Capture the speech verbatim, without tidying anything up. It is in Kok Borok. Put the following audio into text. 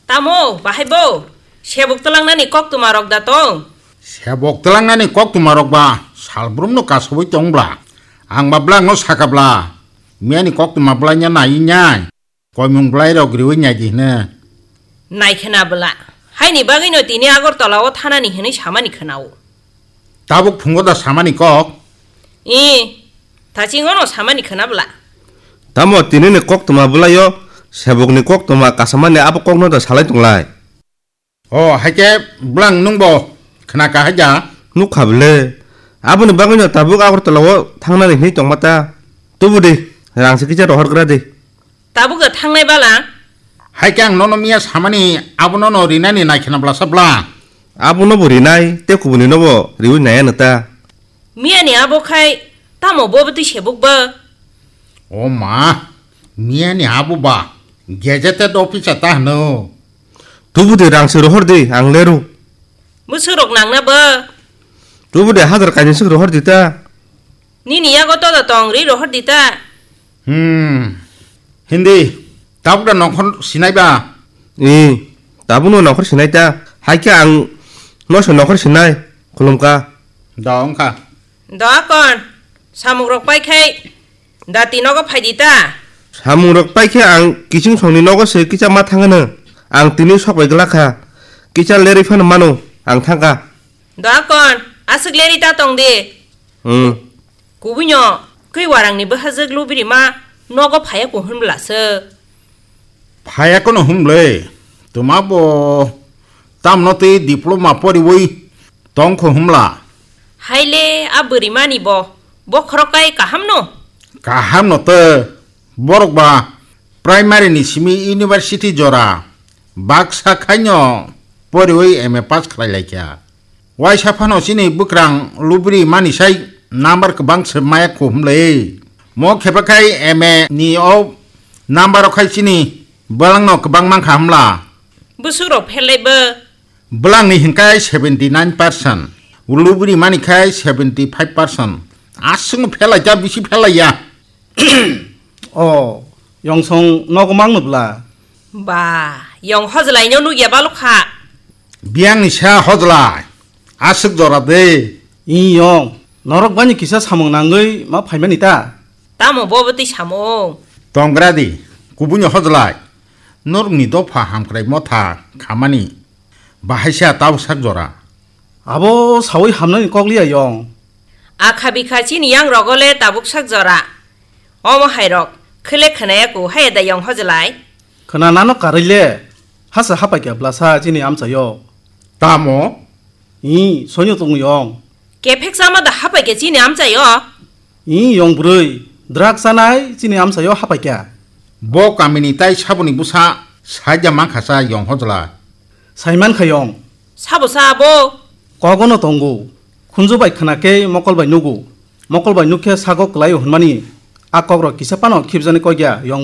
Tamo, bahai bo? Sebuk twlangnani koktwma rok da tong? Sebuk twlangnani koktwma rok ba salbrum no kasubui tong bla. Ang ba bwlang no saka bla. Miyani koktwma bwlaina nai nyai. Koimung bwlairok riui naidi hwno. Naikhwna bwla. Haini bagwino tini Agartala o thanani hwnwi samani khwnao. Tabuk phungo da samani kok? I, tachingono samani khwna bwla. Tamo tinini koktwma bwlaio sebokni koktwma kasamani abo kokno da salai tonglai. O, haikhe bwlang nwngbo khna ka haida? Nukha bwle. Aboni bagwino tabuk Agartala o thangnani hwnwi tongma ta. Tubu di, rangsi kisa rohor gra di. Tabuk da thangnai bala? Haikhe ang nono miya samani abono no rinani naikhwna bwlasa bwla. Abono bo rinai, tei kubuni no bo riui naya no ta. Miyani abo khai tamo bo bwtwi sebuk ba? O ma, miyani abo ba gazetted officer ta hwno. Tubu de rang se rohor de, ang leru. Bwswk rok nangna ba? Tubu de hajar kainwi swk rohor di ta. Nini yago todo tong ri rohor di ta. Hmm. Hindi, tabuk da nokhor sinai ba? I, tabuk no nokhor sinai ta. Haikhe ang no se nokhor sinai, khulumka. Da wngkha. Da kon, samung rok pai khai. Dati nogo phai di ta. Samung rok pai khe ang kiching songni nogo se kisa ma thangano. Ang tini sok bai glak kha. Kisa lerwi phano mano, ang thang kha. Doakon, aswk lerwi ta tong di. Hmm. Kubui no, kwi warang ni bwhajwk lubiri ma nogo phaiya kuhun bwla se. Phaiya kono hwnle, twma bo tamno tei diploma poriwi tongkho hwnla. Haile a bwrwimani bo, bo khorok kai kaham no? Kaham no tei, borok ba primary ni simi university jora, baksa khaino poriwi M A pass khlai laikha. Waisa phano chini bwkrang lubri mani sai number kwbang se maya kho hwnle. Mo khepa khai M A ni o number o khai chini bwlangno kwbang mankha hwnla. Bwswk rok pherlai bo? Bwlangni hinkai seventy nine percent, lubri mani khai seventy five percent. Aswkno pherlai ja, bisi pherlai ya. O, Yongsong nogo mangno bwla? Ba, Yong Hojlai no nugya balok kha. Biyangni sa Hojlai, aswk jora de. I Yong, norok bani kisa samung nangwi ma phaimani ta? Tamo bo bwtwi samung? Tongra di, kubuni Hojlai, norokni dopha hamkrai motha khamani, bahaisa tau sak jora. Abo sawi hamnani kok liya Yong. Akha bikha chini yang rogo le tabuk sak jora. Omo hai rok, khwle khwnaya ku, haya da Yong Hojlai? Khwna nano karwi le, hasa hapai khe bwlasa chini amchaio. Tamo? I, soino tongo Yong. Kephek chama da hapai khe chini amchaio? I, Yong bwrwi, drug chanai chini amchaio hapai khe. Bo kamini tai saboni bwsa saida mankha sa Yong Hojlai. Saiman kha Yong. Sabo sa abo? Kogono tongo. Khunju bai khwna khe mokol bai nugo. Mokol bai nuk khe sago kwlaio hwnmani. A kokrok kisa phano khibjani kok ya Yong